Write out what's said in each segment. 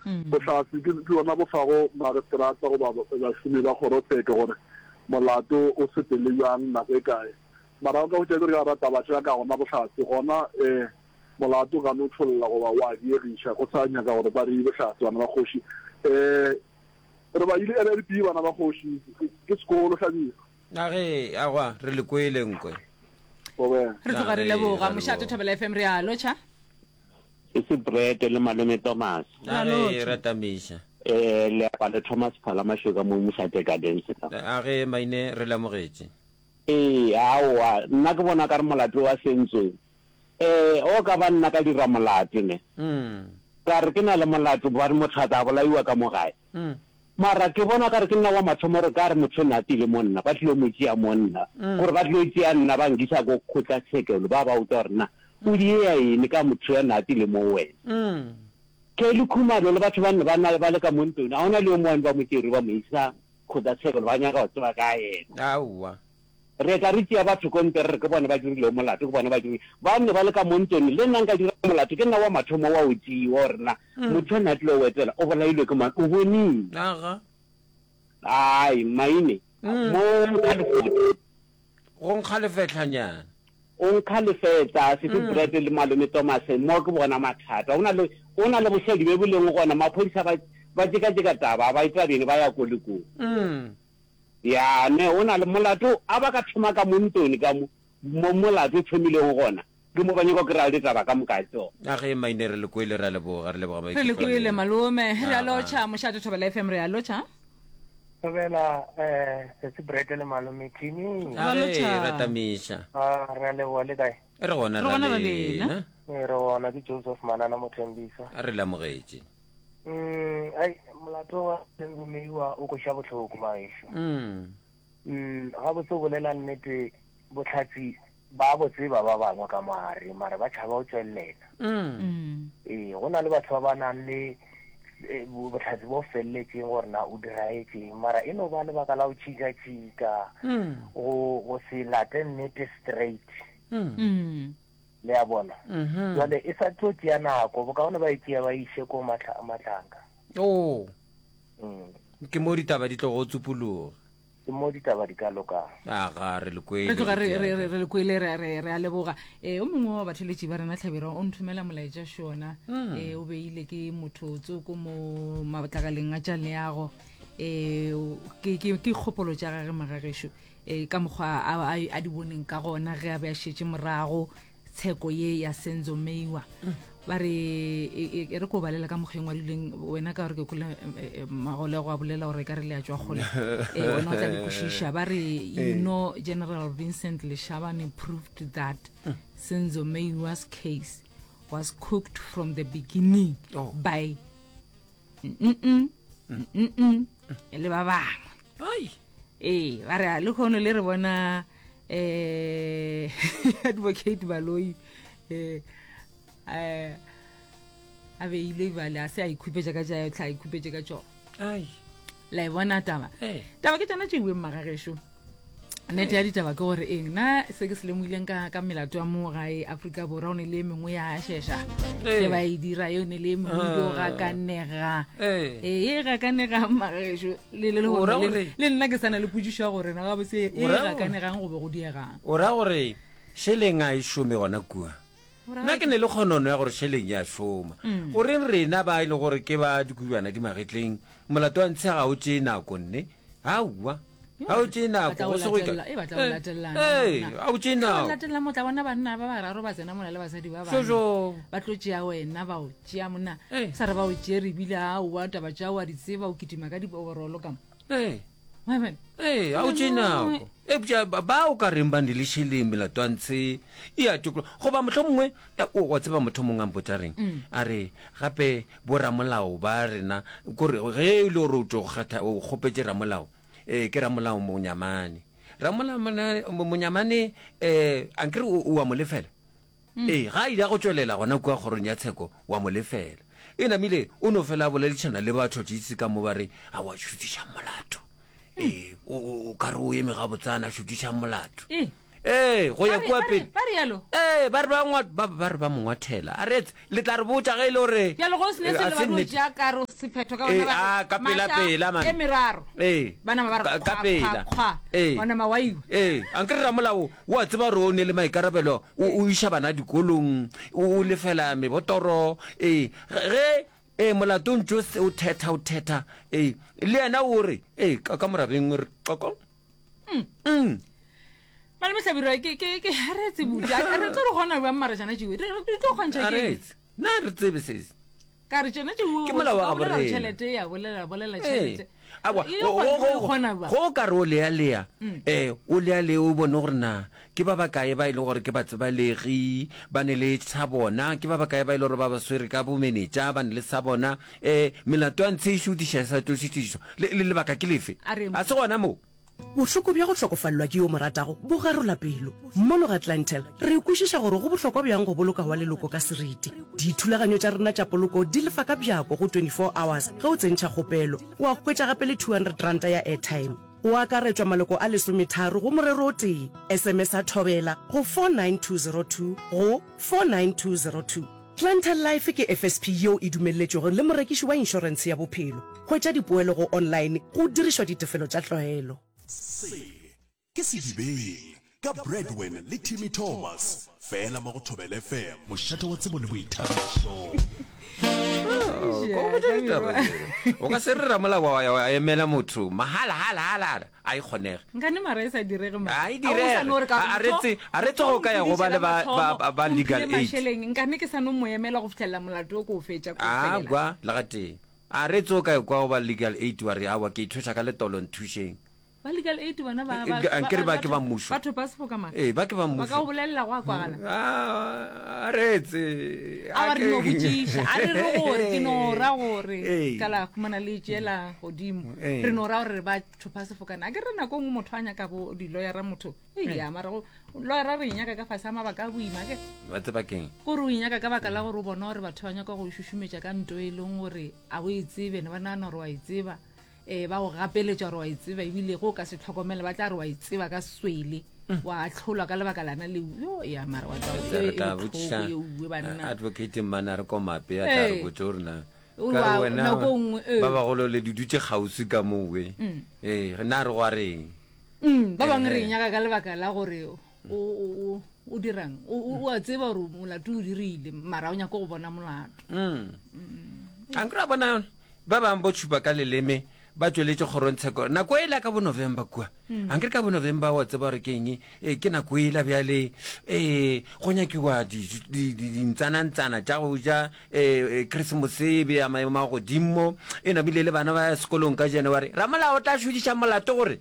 Bohlatse ke bjona bo fago magistrata goba bašomi ba kgorotsheko gore molato o sepele bjang, nako e kae. Mara o ka hwetša e le gore ka gara taba tša ka gona bohlatse gona um molato o ka no tšholla goba wa diegiša go sa nyaka gore ba re bohlatse bana ba kgoši. Um re ba ile LLB bana ba kgoši ke sekolo Hlabirwa. A ge, aowa, re le kwele nkwe. Re tloga re leboga. Mošate Thobela FM re a lotšha. Se se Brett le malome Thomas. A ge, ra tamiša. Eh, le apa le Thomas Phala Mašoka mo Mošate Gardens ka. A ge, Maine, re le amogetše. Ee, aowa, nna ke bona ka re molato wa Sentswe. Eh, o ka ba nna ka dira molato ne. Ka re ke na le molato, ba re motho a tla bolaiwa ka mo gae. Mara ke bona okare ke nna wa mathomo gore ka re motho o ne a ttile mo nna, ba tlilo mo tšea mo nna, gore ba tlilo tšea nna ba nkisa ko kgotlatshekelo, ba ba botša gore na o diea eng ka motho ya ne a ttile mo wena. Kelly Khumalo le batho ba ne ba na ba le ka mo ntlong, ga gona le yo mongwe ba mo tšere ba mo isa kgotlatshekelo ba nyaka go tseba ka yena. Aowa. Re tla re tšea batho ko ntle re re ke bona ba dirilego molato, ke bona ba dirile. Ba ne ba le ka mo ntlong, le nna nka dira molato, ke nna wa mathomo wa go tšewa gore na motho a ne a tlilo go etela o bolailwe ke mang, o boneng? Aga. Ai, Maine, mo nkga lefota. Go nkga lefehlanyana. O nkga lefetla, Sisi Brett le Malome Thomas, mo ke bona mathata. Go na le, go na le bošadi bjo bo leng gona, maphodisa ba, ba tšekatšeka taba, ba e tabeng, ba ya ko le ko. Ya, ne o na le molato, a ba ka thoma ka mo ntlong ka mo, mo molato o thomilego gona, ke mo ba nyaka go kry-a ditaba ka moka tšona. A ge Maine re le kwele, re a leboga, re leboga Re le maikutlo a kwele lena. malome. Re a Aga. lotšha, Mošate Thobela FM re a lotšha. Thobela eh Sesi Brett le malome Timmy. Ra A ge lotšha. ra tamiša. Ah re a leboga le kae? Re gona Re ra gona ra lena. lena. Ee re gona ke Joseph Manana Mothembisa. A re le amogetše. Mm, ai molato wa Senzo Meyiwa o kweša bohloko maešo. Mm. Mm, gabotse o bolela nnete bohlatsi ba bo tseba ba bangwe ka mogare mara ba tšhaba go tšwelela. Mm. Ee, go na le batho ba ba nang le eh, bohlatsi bo feleletšeng gore na o diraetšeng mara e no ba lebaka la go tšhika-tšhika Mm. go go se late nnete straight. Mm. Mm. Le a bona? Jwale e sa tlo tšea nako, bokaone ba e tšea ba e iše ko Matlanka. Oo. Mm. Ke mo ditaba di tlogo tsupologa. Ke mo ditaba di ka lokang. Aga, re le kwele. Re tloga re, re, re, re le kwele, re, re, re a leboga. E, o mongwe wa batheletši ba rena Hlabirwa o nthomela molaetša šona. Mm. E, o beile ke motho tsoko mo matlakaleng a tša leago. E, ke, ke, ke kgopolo tša gage magagešo. E, ka mokgwa a, a, a di boneng ka gona ge a be a šetše morago tsheko ye ya Senzo Meyiwa. Ba re e, e, e re ko balela ka mokgwa e ngwadilweng wena ka gore ke kwele e, e, magolego a bolela gore e ka re le a tšwa kgole e, wena o tla di kwešiša. Ba re you know General Vincent Leshabane proved that Senzo Meyiwa's case was cooked from the beginning Oh. by mm mm le ba bangwe ai ee ba re le kgono le re bona eh advocate baloi eh eh a beile bale a se a ikhupetša ka tša tla ikhupetše ka tšona ai la e bona taba Eh. taba ke tšona tše iweng magagešo Nnete ya ditaba ke gore eng nna se ke se lemogileng ka ka melato ya mo gae Afrika Borwa o ne le e mengwe ya šeša Ee. ge ba e dira yo ne le e mengwe e dio Ah. gakanega Ee. ee e gakanegang magešo le le O ra lehono le gore- le nna ke sa na le potšišo ya gore na gabotse e O ra gore- gakanegang go be go diegang O ra gore šeleng a e šome gona kua? O ra Nna ke ne le kgonono ya gore šeleng ya šoma. Goreng rena ba e le gore ke ba dikubjana di magetleng, molato wa ntshe ga o tšee nako nne? Aowa, ga o tšee Ba nako, tla o go se go ye latelela, kae. e ba tla o latelelana Ee, monna. ga o tšee Ge ba nako. latelela mo tla bona banna ba bararo ba tsena mola le basadi ba bane. Jojo. Ba tlo tšea wena ba o tšea monna. Ee. Sa re ba o tšere ebile aowa taba tša o a di tseba o kitima ka di-overall ka mo. Ee. Wa bona? Ee, ga o tšee nako. Eupša ba ba o ka reng ba ne le šeleng melato ya ntshe e a tokologa. Goba mohlomongwe, o, wa tseba motho mongwe a mpotša reng? A re, gape boramolao ba rena, kore ge e le gore o tšo kgetha, o kgopetše ramolao, ee, ke ramolao Monyamane. Ramolao Monyamane, um ankere o, o a mo lefela? Ee, ga a ile a go tšwelela gona kua kgorong ya tsheko, wa mo lefela. E namile o no fela a boledišana le batšhotšhisi ka mo ba re, Aowa, šuthišang molato. Ee, o, o, o ka re o eme gabotsana, šuthišang molato. Ee. Ee, go ya Ba re- kua ba re- pele. ba rialo? Ee, ba re ba ngwa, ba, ba re ba mo ngwathela. A re etse, le tla re botša ge e le gore Bjalo go se ne eh, selo a ba se no nnete. tšea karo. sephetho ka bona a ka pela pela man. E meraro. Ee. Ba nama ba re ka pela. Ee. Wa nama wa iwa. Ee, ankere ramolao o a tseba gore o ne le maikarabelo, o o iša bana dikolong, o lefela mebotoro, ee, ge ee molato o ntše o thetha o thetha, ee, le yena o re, ee, ka ka morabeng re qoko. Mm. Malome Hlabirwa ke ke ke ha re tsebe buti. A re tlo re gona bjang mara tšana tšeo. Re re tlo kgontšha ke. Na re tsebe se. Ka re tšona tšeo. Ke molao wa bolela tšhelete ya bolela bolela tšhelete. Awa, go ka re o lea lea. Mm. Eh, o lea lea o bone gore na ke ba bakae ba e leng gore ke batsebalegi ba ne le sa bona ke ba bakae ba e leng gore ba ba swere ka bomenetša ba ne le sa bona um melato ya ntshe e šutiša e sa tlo šutišwa le lebaka ke lefe a se gona moo Bohloko bja go hlokofalelwa ke yo o mo ratago bo garola pelo. Mono ga Clientele, re kwešiša gore go bohlokwa bjang go boloka wa leloko ka seriti. Dithulaganyo tša rena tša poloko di lefa ka bjako go 24 hours ge o tsentšha kgopelo. Wa hwetša gape le R200 ya airtime. Go akaretšwa maloko a lesometharo go morero o tee. SMS-a Thobela go 49202 go 49202. Clientele Life ke FSP yeo e dumelletšwego le morekiši wa inšorentshe ya bophelo. Hwetša dipoelo go online go dirišwa ditefelo tša tlwaelo. Se ke Sedibeng ka Bradwin le Timmy Thomas, fela mo go Thobela FM, mošate wa tsebo le boithabišo. O ka se re ramolao wa emela motho mahala hala hala hala. A e kgonege. Nkane mara e sa direge mara. A e direge. A re tse a re tsogo ka ya go ba le ba ba ba legal aid. Masheleng nkane ke sa no mo emela go fihlelela molato o ko o fetša ko felela. Agwa le ga tee. A re tso ka kwa go ba legal aid wa re awa ke ithweša ka letolo nthušeng. Ba legal aid bona ba ba ankere ba ke ba mmušo. Batho ba sefoka mara. Ee ba ke ba mmušo. Ba ka go bolelela go a kwagala. A re tse. A re no botšiša. A re re gore ke no ra gore ka la khumana le tšela godimo. Re no ra gore ba thopha sefokane a ke re nako nngwe motho a nyaka bo di-lawyera motho eya mara go lawyera re e nyaka ka fase a mabaka a boima ke ba tseba keng kore o e nyaka ka baka la gore o bona gore batho ba nyaka go šušumetša ka nto e leng gore a o e tsebe ne ba nagana gore wa e tseba um ba go gapeletša gore wa e tseba ebile go o ka se tlhokomele ba tla re wa e tseba ka swele mm. wa atlholwa ka lebaka lana leo yo ya mara wa tla botšiša banna advocate mmana re komape a tla re botse gore na Ka re wena nako nngwe ee. ba bagolo le di dutše kgauswi ka moo we mm. ee na re gwa reng mm, ba bangwe re e nyaka ka lebaka la gore o o dirang o a tseba gore molato o dirile mara o nyaka go bona molato mm. a nkry bona ba bangwe bo tšhupa ka leleme ba tšweletše kgorongtsheko nako e la ka bo november kua mm. a nkere ka bo november wa tseba gore ke eng e, ke nako e la bjale um go nyakiwa dintsanantsana tša go ja um christmas e be ya maemo a godimo e namile le bana ba ya sekolong ka january ramolao o tla šodiša molato gore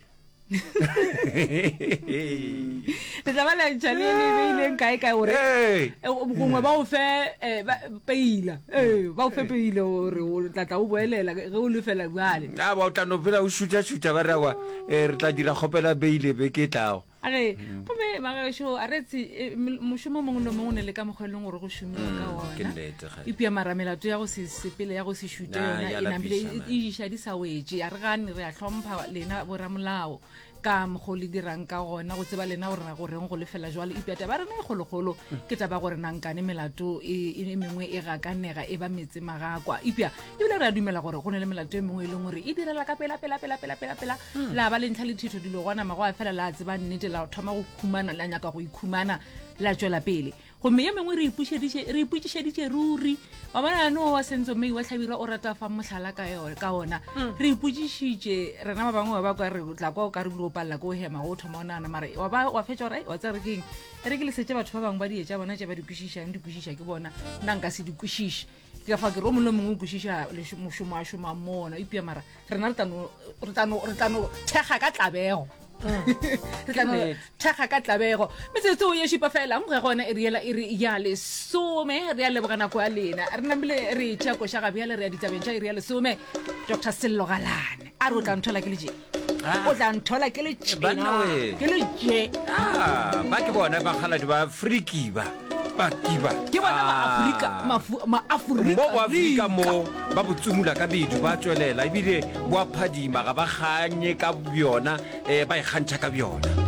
le tla ba lantšha le le beileng kae kae gore eh, gongwe ba o fe eh, peila ee ba o fe peile gore o tla tla o boelela ge o lefela bjale a ba o tla no phela o šutha-šutha ba re awa eh, re tla dira kgopela beile beke e tlago a re gomme magaešo a re tse eh, mošomo mongwe le mongwe o ne le ka mokgwa e leng gore go šomiwa ka mm, ke ona nnete, kgale. epia mara melato ya go se sepele ya go se šute Na, yona ya e namile lapiša, e man. e iša di sa wetše a re gane re a hlompha lena boramolao ka mokgwa o le dirang ka gona go tseba lena gore ra goreng go lefela jwalo epia taba ya rena e kgolokgolo ke taba ya gore nankane melato e e mengwe e gakanega e ba metse magakwa epia ebile re a dumela gore go ne le melato e mengwe e leng gore e direla ka pela pela pela pela pela pela hmm. la ba le ntlha le thitho dilo gona mago a fela la tseba nnete la thoma go khumana la nyaka go ikhumana la tšwela pele gomme ye mengwe re ipotšišeditše ruri wa bona no wa sentso mme wa tlhabirwa o rata fa mohlala ka ona hmm. re ipotšišitše rena ba bangwe ba ba kwa re tla kwa o ka re bile o palela ko o hema go thoma o nagana mare wa ba wa fetša gore wa tsere keng re ke lesetse batho ba bangwe ba dietša bona tše ba di kwešišang di kwešiša ke bona nna nka se di kwešiše Ke ka fa ke re o mongwe le mongwe o kwešiša mošomo a šomang mo ona eupša mara rena re tla no thekga ka tlabego re tla no thekga ka tlabego metsotso ye šupa fela ge gona e riela e re ya lesome re ya leboga nako ya lena re namile re tšea koša ga bjale re ya ditabeng tša iri ya lesome dr sello galane a re o tla nthola ke le Ah. o tla nthola ke le Banna we. ke le tše Ah, ba ke bona bakgaladi ba friki ba ba kiba ke bona maafrika Ah. mafu- maafrika mo boafrika mo ba bo tsumula ka bedu ba tswelela ebile bo a phadima ga ba ganye ka bjona um ba ikgantšha ka bjona.